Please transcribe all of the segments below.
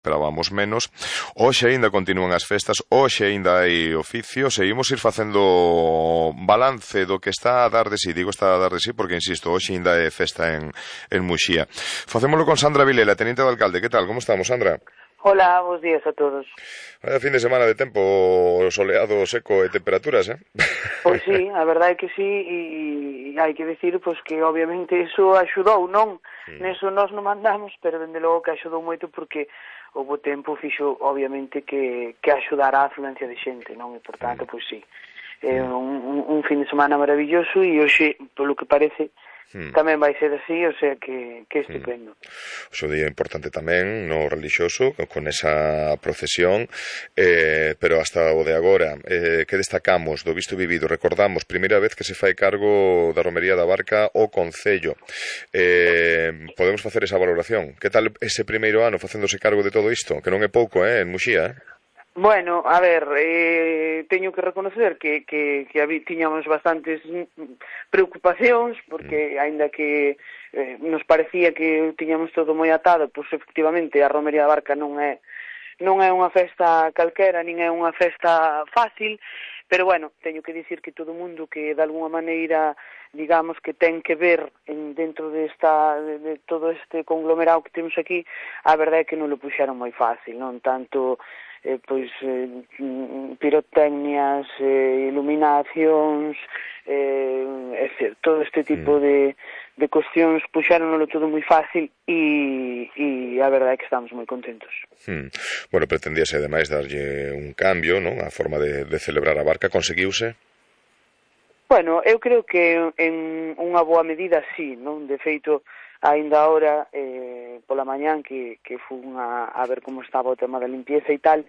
esperábamos menos. Hoxe aínda continúan as festas, hoxe aínda hai oficio, seguimos ir facendo balance do que está a dar de sí, digo está a dar de sí porque, insisto, hoxe aínda é festa en Muxía. Facémolo con Sandra Vilela, teniente de alcalde. Que tal, como estamos, Sandra? Hola, bons días a todos. Vaya fin de semana de tempo soleado, seco e temperaturas, Pois sí, a verdade é que sí, e hai que dicir pois que obviamente iso axudou, non? Neso nós non mandamos, pero dende logo que axudou moito porque o bo tempo fixo obviamente que axudara a afluencia de xente, non? E por tanto, pois sí, é un fin de semana maravilloso e hoxe, polo que parece, tamén vai ser así, o sea que estupendo. O seu día importante tamén no relixioso, con esa procesión, pero hasta o de agora, que destacamos do visto vivido? Recordamos, primeira vez que se fai cargo da romería da Barca o Concello. Podemos facer esa valoración? Que tal ese primeiro ano facéndose cargo de todo isto? Que non é pouco, en Muxía, Bueno, a ver, teño que reconocer que tiñamos bastantes preocupacións, porque aínda que nos parecía que tiñamos todo moi atado, pois efectivamente a Romería da Barca non é unha festa calquera, nin é unha festa fácil, pero bueno, teño que dicir que todo o mundo que de alguna maneira, digamos, que ten que ver dentro de todo este conglomerado que temos aquí, a verdade é que non lo puxeron moi fácil, non tanto pirotecnias, iluminacións, todo este tipo de cuestións puxéronlo todo moi fácil e a verdade é que estamos moi contentos. Bueno, pretendíase ademais darlle un cambio, non? A forma de celebrar a Barca, conseguiuse? Bueno, eu creo que en unha boa medida sí, non? De feito, aínda ahora, pola mañán que fun a ver como estaba o tema da limpieza e tal,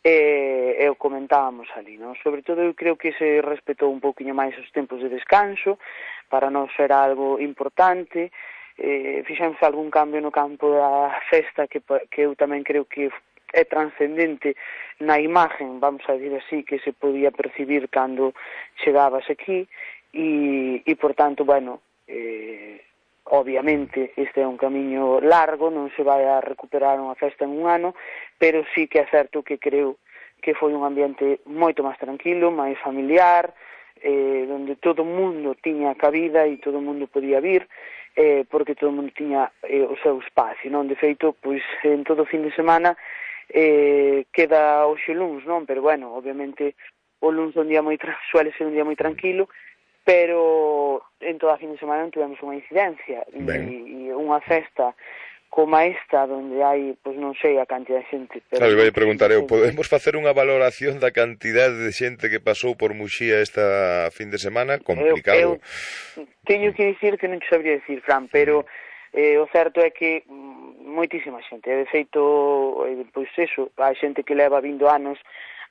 e o comentábamos ali, non? Sobre todo eu creo que se respetou un pouquiño máis os tempos de descanso, para non ser algo importante, fixemos algún cambio no campo da festa que eu tamén creo que é transcendente na imagen, vamos a dir así, que se podía percibir cando chegabas aquí e por tanto, bueno, obviamente este é un camiño largo, non se vai a recuperar unha festa en un ano, pero sí que é certo que creo que foi un ambiente moito máis tranquilo, máis familiar, onde todo o mundo tiña cabida e todo o mundo podía vir, porque todo o mundo tiña o seu espacio, non? De feito, pois en todo o fin de semana queda hoxe luns, non? Pero bueno, obviamente o luns suele ser un día moi tranquilo, pero en toda a fin de semana non tivemos unha incidencia e unha festa como esta, onde hai, pois non sei a cantidad de xente. Claro, vai preguntar eu, podemos facer unha valoración da cantidade de xente que pasou por Muxía esta fin de semana? Complicado. Eu teño que dicir que non te sabría dicir, Fran, pero o certo é que moitísima xente. De feito, pois eso, hai xente que leva vindo anos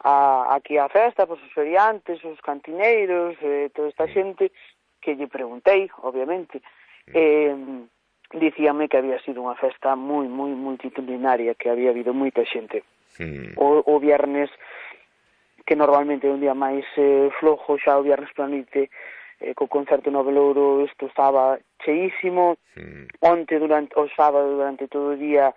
aquí á festa, pois os feriantes, os cantineiros, toda esta xente que lle preguntei, obviamente, dicíame que había sido unha festa moi multitudinaria, que había habido moita xente. O viernes, que normalmente é un día máis flojo, xa o viernes pola noite, co concerto no Velouro, isto estaba cheísimo. Onte, o sábado, durante todo o día,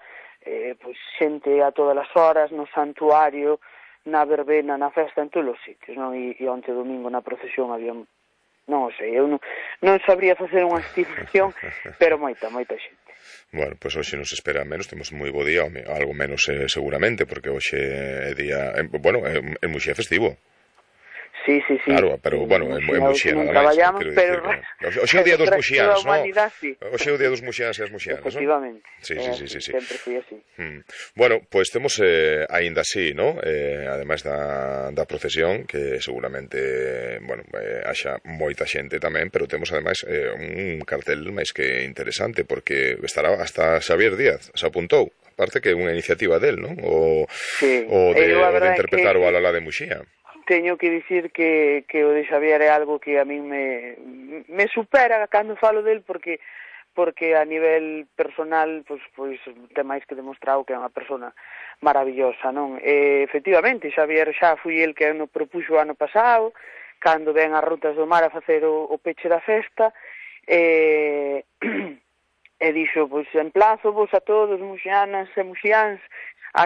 pois xente a todas as horas, no santuario, na verbena, na festa, en todos os sitios, non? E onte domingo na procesión había, non o sei, eu non sabría facer unha estimación, pero moita xente. Bueno, pois hoxe nos espera menos, temos moi bo día, algo menos seguramente, porque hoxe é día, bueno, en Muxía é festivo. Sí. Claro, pero, bueno, en Muxía nada máis. Pero hoxe é o día dos muxianos, non? Sí. Hoxe é o día dos muxianos e as muxianas, non? Efectivamente. Sí. Sempre foi así. Bueno, pois temos aínda así, non? Ademais da procesión, que seguramente, bueno, haxa moita xente tamén, pero temos ademais un cartel máis que interesante, porque estará hasta Xavier Díaz, se apuntou. Aparte que é unha iniciativa del, non? O de interpretar o Alalá de Muxía. Teño que dicir que o de Xavier é algo que a min me supera cando falo del, porque a nivel personal pois ten máis que demostrado que é unha persona maravillosa, non? Efectivamente, Xavier xa foi el que nos propuxo o ano pasado, cando ven as rutas do mar a facer o peche da festa, e dixo, pois emplazo vos a todos, muxianas e muxiáns,